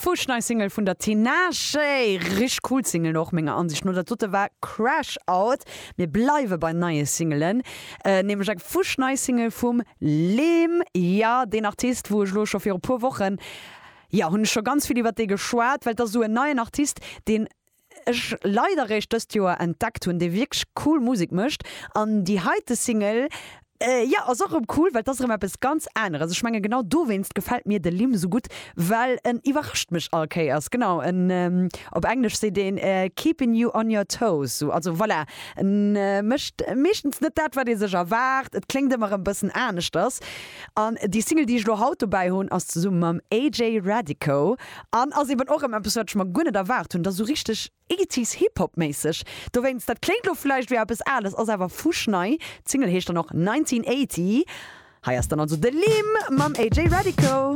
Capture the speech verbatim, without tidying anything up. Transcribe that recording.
Fuschnei Single vun der Tinashe. Richteg cool Single och menger Ansicht no. Dat dote war Crash Out. Mir bleiwe bei neie Singelen, nämlech eng fuschnei Single vum Lim. Jo, deen Artist, wou ech elo scho viru puer Wochen, jo, hunn ech scho ganz vill iwwert dee geschwat, well et ass esou en neien Artist, deen ech leider réischt dëst Joer entdeckt hunn, dee wierklech cool Musek mécht. An déi heite Single, jo, ass och erëm cool, well et ass erëm eppes ganz aneres. Ech menge genau dowéinst gefält mir de Lim esou gutt, well en iwwerrascht mech all Kéiers. Genau, en, op Englesch seet een keeping you on your toes, sou. Also voilà, en mécht meeschtens net dat, wat ee sech erwaart, et kléngt ëmmer erëm bëssen aneschters. An déi Single, déi ech elo haut dobäi hunn, ass zesumme mam AJ Radico an ass eben och erëm eppes, wat ech mer guer net erwaart hunn. Et ass esou richteg Eighties Hip Hop méisseg. Dowéinst, dat kléngt lo vläicht wéi eppes Ales, ass awer fuschnei. D'Single heescht dann och Nineteen Eighty. Hei ass dann also de Lim mam AJ Radico.